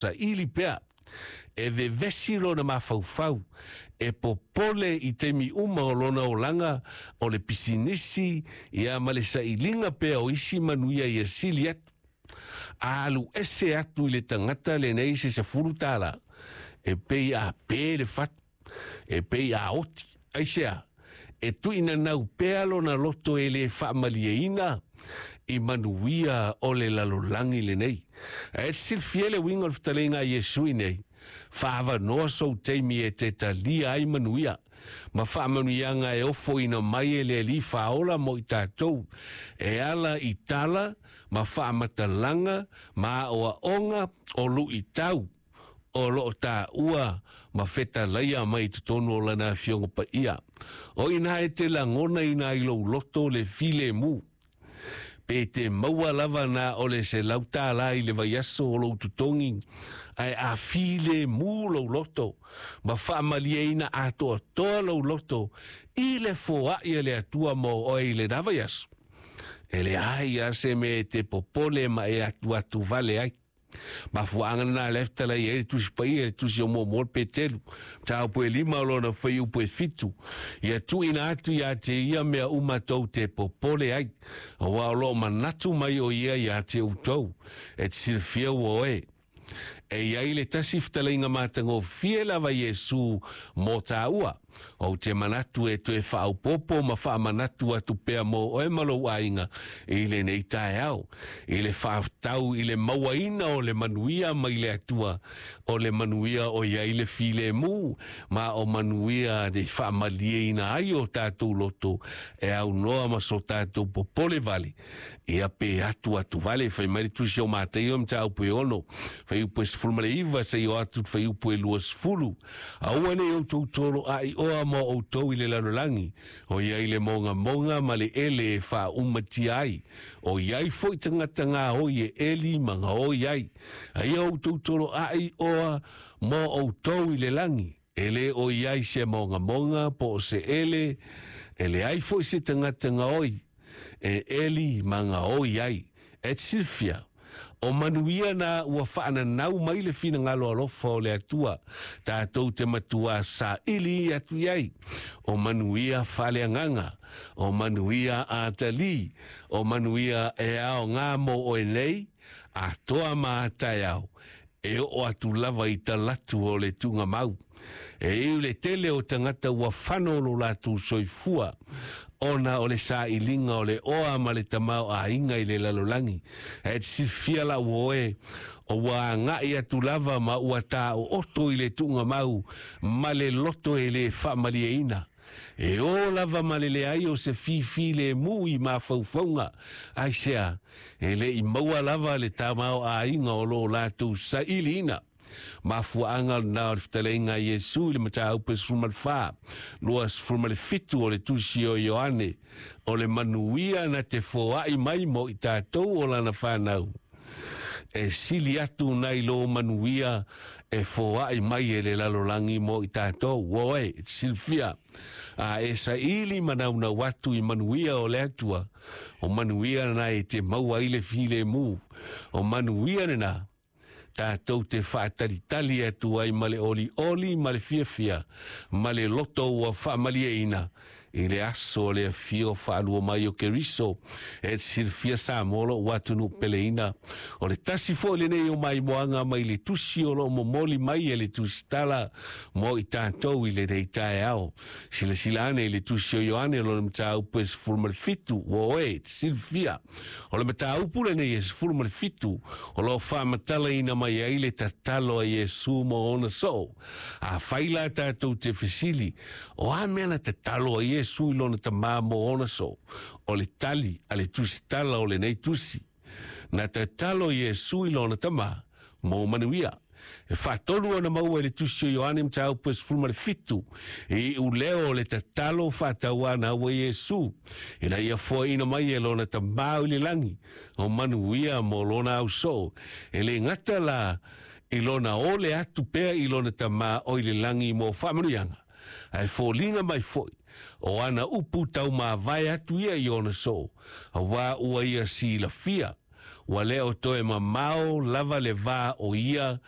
Saili pea, e vevesi lona mafaufau, e popole i taimi uma o lona olaga, o le pisinisi, ia ma le sailiga pea o isi manuia ia sili atu. A alu ese atu i le tagata lenei se $10, e pei a pe le fatu, e pei a oti. Aisea? E tuuinanau pea lona loto e le faamalieina i manuia o le lalolagi lenei. Ae te silafia le uiga o le fetalaiga a Iesu i nei, Faaavanoa sou taimi e te talia ai manuia ma faamanuiaga e ofoina mai e le Alii Faaola mo i tatou, e ala i tala ma faamatalaga ma aoaoga o luitau o lo o taua ma fetalaia mai i totonu o Lana Afioga Paia. O ina e te lagonaina ai lou loto le filemu, pe te maua lava na o le $100 i le vaiaso o lou totogi, ae a filemu lou loto ma faamalieina atoatoa lou loto i le foai a le Atua mo oe i lena vaiaso, e leai lava se mea e te popole ma e atuatu vale ai. Mafuaaga lena lea fetalai ai le Tusi Paia, le Tusi o Muamua o le Petelu, mataupu e 5 o lona fuaiupu e 7, ia tuuina atu ia te ia mea uma tou te popole ai, aua o lo o manatu mai o ia ia te outou, e te silafia ua oe. E i ai le tasi fetalaiga matagofie lava Iesu mo tāua. Ou te manatu e toe faaopoopo ma faamanatu atu pea mō oe ma lou aiga i lenei taeao, i le faaftau i le mauaina o le manuia mai le Atua, o le manuia o i ai le filemu, ma o manuia e faamalieina ai o tatou loto e aunoa ma so tatou popole vale, ia pe atu atu vale. Fai mai le Tusi o Mataio mataupu e 6, fuaiupu e 19 seia oo atu i le fuaiupu e 20. Aua nei outou tolo aioa mo outou i le lalolagi, o i ai le mogamoga ma le ele e faaumatia ai, o i ai foi tagata gaoi e eli ma gaoi ai. A ia outou tolo aioa mo outou i le lagi, e le o i ai se mogamoga po o se ele, e leai foi se tagata gaoi e eli ma gaoi ai. E te silafia, o manuia na ua faananau mai le finagalo alofa o le Atua, tatou te matuā saili atu i ai, o manuia faaleagaga, o manuia atalī, o manuia e aoga mo oe nei, atoa ma a taeao, e oo atu lava i talatu o le tuugamau. E iu le tele o tagata ua fano lo latou soifua ona o le sailiga o le oa ma le tamaoaiga i le lalolagi. Ae te silafia lau oe, o ua agai atu lava ma ua taooto i le tuugamau ma le loto e le faamalieina. E ō lava ma le leai o se fifilemu i mafaufauga, aisea, e le i maua lava le tamaoaiga o lo latou sailiina. Mafuaaga lena o le fetalaiga a Iesu i le mataupu e 14, 27 o le Tusi o Ioane, o le manuia na te foai mai mo i tatou o lana fanau, e sili atu nai lo manuia e foai mai e le lalolagi mo i tatou. Oe, e te silafia, a e saili ma naunau atu i manuia o le Atua, o manuia lena e te maua ai le filemu, o manuia lena tatou te faatalitali atu ai ma le olioli ma le fiafia ma le loto ua faamalieina i le aso o le afio faalua mai o Keriso. E te silafia Samoa lou atunuu peleina, o le tasi foi lenei o maimoaga mai le tusi o lo o momoli mai e le Tusitala mo i tatou i lenei taeao. Silasila ane i le Tusi o Ioane lona mataupu e 17, ua oe e te silafia. O le mataupu lenei e 17, o lo o faamatalaina mai ai le tatalo a Iesu mo ona soo. Afai la tatou te fesili, o a mea na tatalo a Iesu i lona Tama mo ona soo? O le tali a le tusitala o lenei tusi. Na tatalo Iesu i lona Tama mo manuia. E faatolu ona maua i le Tusi o Ioane mataupu e 17, i iuleo o le tatalo faatauanau a Iesu, ina ia foaiina mai e lona Tama o i le lagi o manuia mo lona ausoo. E le gata la i lona ole atu pea i lona Tama o i le lagi mo faamanuiaga, ae foliga mai foi o ana upu taumavae atu ia i ona soo, auā ua ia silafia. Ua le o toe mamao lava le va o ia.